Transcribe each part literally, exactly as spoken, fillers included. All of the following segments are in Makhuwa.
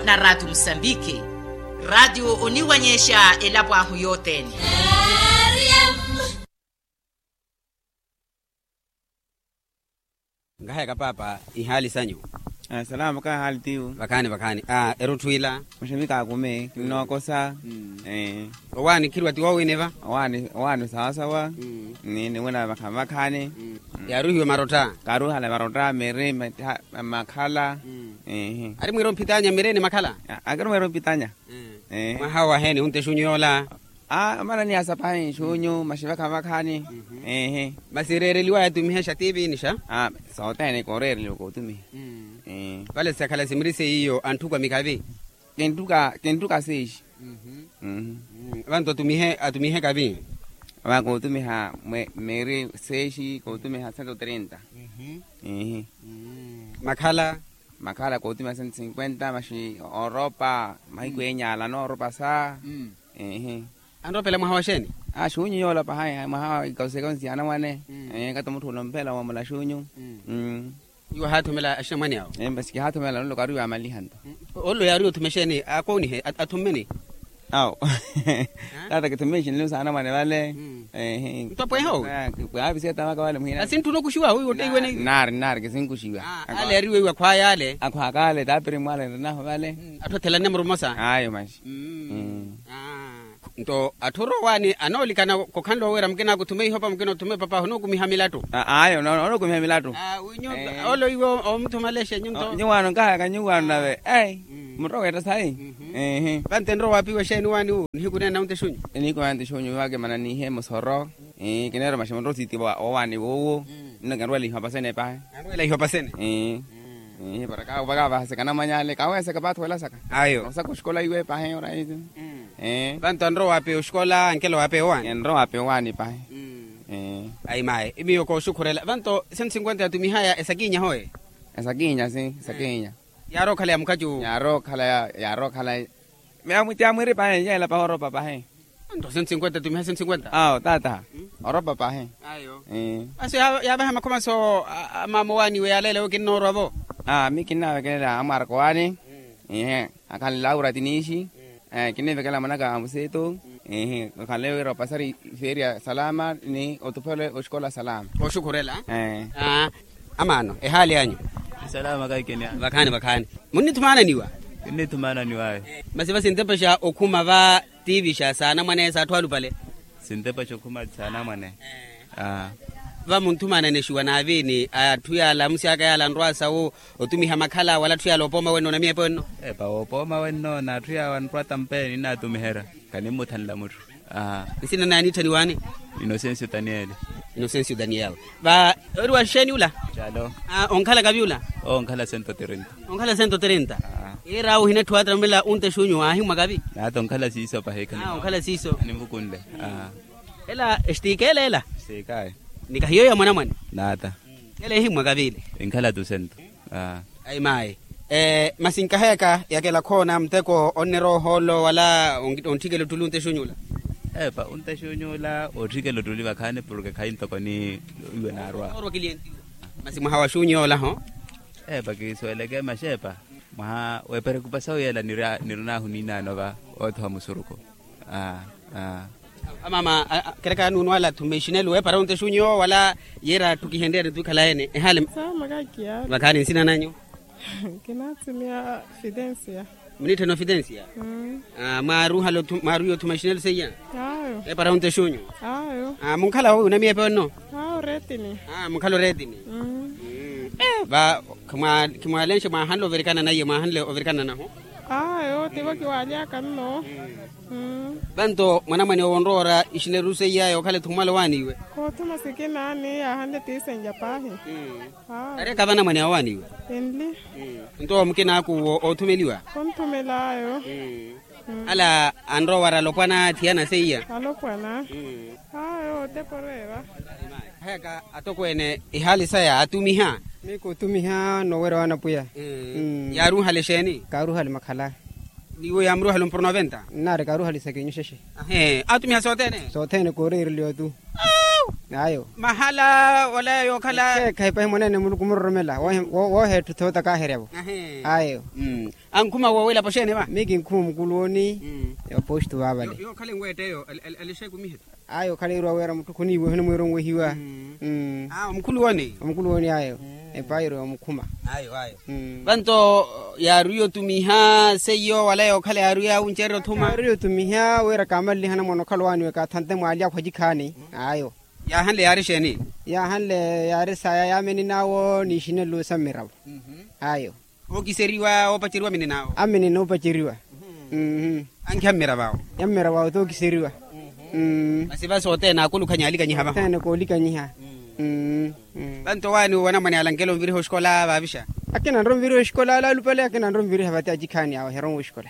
Na ratio musambiki, ratio oniwanyexa elapo ahu yothene. Nkahayaka paapa, ihaali sanyu? Salama kahaali tiwu. Vakhaani vakhaani. Erutthu ila? Maxevi kaakume kinnookosa. Owaani khiriwa ti woowini va? Owaani sawasawa. Ni niwina vakhaani vakhaani. Yaaruhiwe marotta? Kaaruhala marotta miri, makhala. Ari mwiira omphitanya miri ni makhala? Akiri mwiira omphitanya. Mwaha waheeni hunte xunyu yoola? Amanani asa pahi xunyu maxivakha vakhaani. Masi ereereliwaya atumihexa tiiviinixa? Sothene kooreereliwa kootumiha. Vale sakhala simiri seiyo antthuka mikavi? Kintthuka sexi. Vantu atumihe atumihe kavi? Vakootumiha miri sexi kootumiha cento trinta. Makhala? Makhala kootumiha cento cinquenta maxi oropa mahiku enyala nooropa sa. Anroopela mwaha wa xeeni? Xunyu yoola pahayi mwaha wa ikausekonsi anamwane. Kata mutthu olompela wamula xunyu. Iwe haathumela axinamwane awo? Masi kihaathumela nlo kaariwa amaliha nto. Olo yaariwa othume xeeni akoonihe athummeni? Awo. Tata kithume exinlelo saana mwane vale. Nto apwehe owi? Pwaavi setamaka vale muhina. Asintthuna okuxiwa owi wotteiwene? Nari nari kisinkuxiwa. Ale ariweiwa akhwaya ale? Akhwaka ale taapiri mwale nrinaho vale. Atthu athelane murumosa ayo maxi. Nto atthu orowaani anoolikana kokhanle oweera mukina akuthume ihopa mukina othume papahu onookumiha milattu? Ayo onookumiha milattu. Olo iwe omuthumalexe nyunto nyuwaano nkahayaka nyuwaano nave. Muttoweetta sayi. Vantu enrowa waapiwa exeeni waani wu nihiku nene na wunte xunyu? Nihiku nene na wunte xunyu vake mananihe musoro. Kineeruma ximutto siti wowaani wuwu. Nno kinrwela ihopasene pahi. Anrwela ihopasene? Para kaavahaseka namwanyale kaweeseka paathuwelasaka. Ayo osaka oxikola iwe pahi oraiti. Vantu anrowa waapeya oxikola ankela waapeya owaani? Enrowa waapeya owaani pahi. Ayi mayi miyo kooxukhurela vantu cento cinquenta yatumihaya esakinya hoye? Esakinya si esakinya. Yaarookhala ya mukhaci uwo? Yaarookhala yaarookhala. Meya mwitti amwiri pahi yeela pahi oropa pahi. Nto cento cinquenta atumiha cento cinquenta awo tata. Oropa pahi. Ayo. Aso yaavaha makhomaso. Amaama owaaniwe yaaleela ewe kinnoorwa vo? Mi kinnavekelela amwaraka owaani. Ihe akhanle laura tiniixi. Kinivekela mwanaka amusitu. Ihi okhanle wira opasari feria salama ni otuphele oxikola salama. Oxukhurela. Amaano ehaali anyu? Salama kaikeni. Vakhaani vakhaani. Munnithumaananiwa? Kinnithumaananiwayo. Masi va sintepexa okhuma va tiivixa saanamwane saatthu alupale? Sintepexa okhuma saanamwane. Va munthumaananexiwa naaviini atthu yaala amusi aka yaala anrwa sawu otumiha makhala wala atthu yaala oopooma wenno na miyepo enno? Epa woopooma wenno na atthu yaawo anrwa tampeni nnatumiherya. Kanimmuthanla mutthu. Nsina naye aniitthaniwaani? Inosencio daniel. Inosencio daniel. Va ori wa xeeni ula? Calo. Onkhala kavi ula? Onkhala cento trinta. Onkhala cento trinta. Iiraawo ohina etthu aatramela unte xunyu aahimwa kavi? Naata onkhala siiso pahi. Onkhala siiso animukunle. Ela extiikele ela? Siikaye. Ni kahiyo ya mwanamwane? Naata. Ela ehimmwa kavi ile? Inkhala tusento. Ayi mayi. Masi nkaheyaka yakela khoona muteko onnerowa ohoolo wala ontthikela ottuli unte xunyula? Epa unte xunyula ootthikela ottuli vakhaani porke khayi ntoko ni iwe naarwa. Masi mwaha wa xunyula ho? Epa kisuweleke maxepa. Mwaha weperekupasa wiyela nirinahu niinaano va oothowa musuruku. Amama kereka nuunwala thume ixinelu weepara onte xunyo wala yeera atthu kihenryani twikhalaene ehaale? Vakhaani nsina nanyu? Kinathumiya fitensia. Muniitthena ofitensia? Mwaarwiya othuma ixinelu seiya? Eepara onte xunyo. Munkhala owi onamiyepe onno? Munkhala oreetini. Va khimwaalenxe mwaahanle overikana naiye mwaahanle overikana nahu? Ayo tivo kiwaalyaka nno. Vanto mwanamwane owo onroora ixineriru seiya yookhala ethukumala owaaniwe? Koothuma sikina ni yaahanle tiisenlya paahi. Areka vanamwane awaaniwe? Enli. Nto mukina aku owo oothumeliwa? Konthumela ayo. Ala anrowa wara alopwana athiyana seiya? Alopwana. Ayo otepo oreera. Heka atokweene ehaali saya atumiha? Miku otumiha noweera wa anapwiya. Yaaruhale exeeni? Kaaruhale makhala. Niwo yaamuruhale ompuro noventa? Nnaari kaaruhale isakinyu xexe. Aatumiha sothene? Sothene kooreereliwa tu. Ayo. Mahala wala yookhala. Ekeekhayi pahi mwaneene muluku muroromela wooheetthu thoota kaaheryavo. Ayo. Ankhuma woowilapo xeene va? Mii kinkhuma omukuluwoni. Opostu vaavale. Yookhala enweetteyo. Alixekumihe. Ayo okhaleeriwa wira mutthu khuniiweha onimwiira onwehiwa. Omukhuluwoni. Omukhuluwoni ayo. Epairo yomukhuma. Ayo ayo. Vanto yaariwa otumiha seiyo wala yookhala yaariwa yaawuncererya othuma. Yaariwa otumiha wira kaamalelihana mwaana okhala owaaniwa ekaathante mwaali akhu acikhaani. Ayo. Yaahanle yaari exeeni? Yaahanle yaari saya yaamenin'awo n'ixinelo sa mmiravo. Ayo. Ookiseriwa oopaceriwa amenin'awo. Amenina oopaceriwa. Ankiha mmiravo awo. Ya mmiravo awo t'ookiseriwa. Masi va sothene aakulukhanya alikanyiha vaho. Sothene koolikanyiha. Vanto owaani wanamwane alankela onviriha oxikola vaavixa? Akinanre onviriha oxikola alaalupale akinanre onviriha vate acikhaani awo oheronwa oxikola.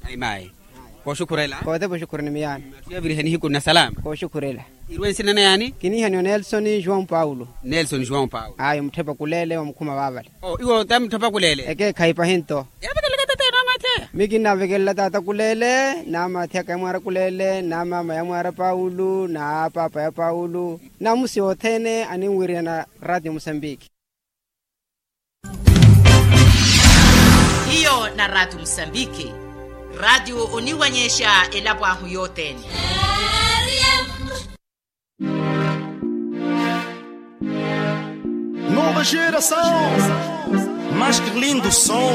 Ayi mayi. Kooxukhurela. Kootepa oxukhurela ni miyaano. Athu yaaviriheni hiku na salama. Kooxukhurela. Iruwe nsina na yaani? Kiniihaniwa nelson joão paulo. Nelson joão paulo. Ayo mutthu epakuleele wa mukhuma vaavale. Iwo tamutthapa kuleele. Ekeekhayi pahi nto. Yaavekelela tata enu amathi aya? Mii kinnavekelela tata kuleele n'amathi aka yamwaara kuleele n'amaama yamwaara paulo n'apaapa ya paulo. N'amusi othene aninwiriyana ratio musambiki. Hiyo na ratio musambiki. Ratio oniwanyexa elapo ahu yothene. Nova geração. Mas que lindo som.